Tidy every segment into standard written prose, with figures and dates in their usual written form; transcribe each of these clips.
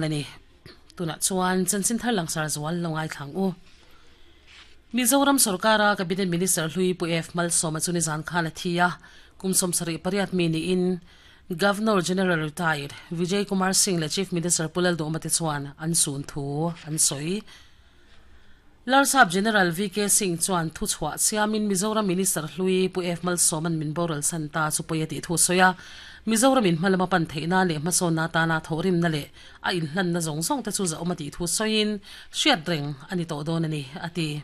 A ni. Tunah chuan chanchin thar langsar zual lo ngaithlang u. Mizoram sorkara Cabinet Minister hlui Pu F Malsawma chu nizan khan a thi a, kum 78 mi niin Governor General Retired Vijay Kumar Singh leh Chief Minister Pu Lalduhma te chuan an sun thu an sawi. Larsap General VK Singh chuan thuchhuah siamin Mizoram Minister hlui Pu F Malsawma'n min boral san ta chu pawi a tih thu a sawi a. Mizoramin hma lama pan theihna leh hmasawnna atana thawhrimna leh a inhlanna zawng zawng te chu zahawm a tih thu sawiin hriat reng a ni tawh dawn a ni, a ti.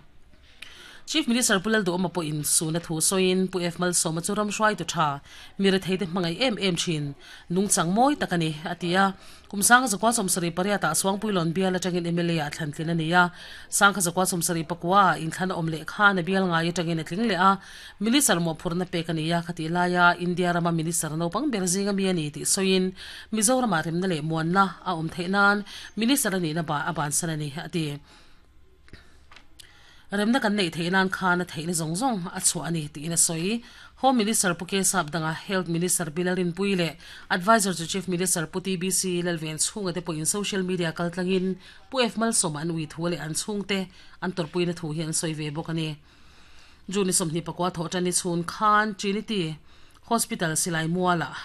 Chief Minister Pu Lalduhawma pawhin suna thu sawiin Pu F Malsawma chu ram hruaitu tha, mi retheite hmangaih em em thin, nungchang mawi tak a ni, a ti a. Kum 1978 ah Suangpuilawn bial atangin mla ah thlan tlin a ni a. 1974 ah inthlan a awm leh khan a bial ngai atangin a tling leh a. Minister mawhphurhna pek a ni a, khatih laia India rama Minister naupang ber zinga mi a ni tih sawiin Mizoramah remna leh muanna a awm theih nan Minister a nihna a bansan a ni, a ti. Remna kan neih theih nan khan a theihna zawng zawng a chhuah a ni tiin a sawi. Home Minister Pu Kesap danga Health Minister Bill Rinpui leh Adviser chu Chief Minister Pu TBC Lalven chhunga te pawhin social media kaltlangin Pu F Malsawma an ui thu leh an chhungte an tawrhpuina thu hi an sawi ve bawk a ni. June 24 thawhṭan ni chhun khan Trinity Hospital Silai Mualah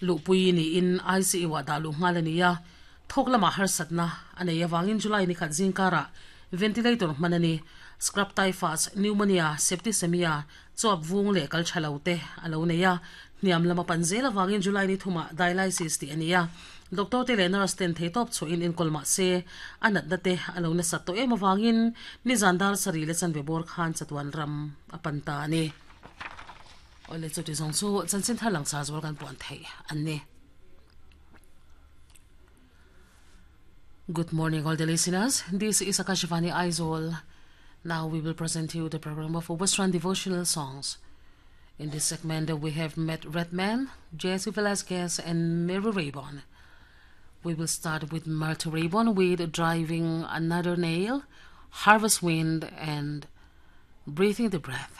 Luhpui niin ICU-ah dah luh nghal a ni a, thawk lamah harsatna a nei avangin July ni khat zingkarah ventilator hman a ni. Scrub typhus, pneumonia, septicemia, chuap vung leh kal tha lo te a lo nei a, hniam lama pan zel avangin July ni thumah dialysis tih a ni a. Doctor te leh nurse ten theitawp chhuahin enkawl mah se a natna te a lo nasat tawh em avangin nizan dar sarih leh chanve bawr khan chatuan ram a pan ta a ni. Awle chuti zawng chu chanchin thar langchar zual kan puan theih an ni. Good morning all the listeners. This is Akashvani Aizawl. Now we will present you the program of Western devotional songs. In this segment we have Matt Redman, Jesse Velasquez and Mary Raybon. We will start with Matt Raybon with Driving Another Nail, Harvest Wind and Breathing the Breath.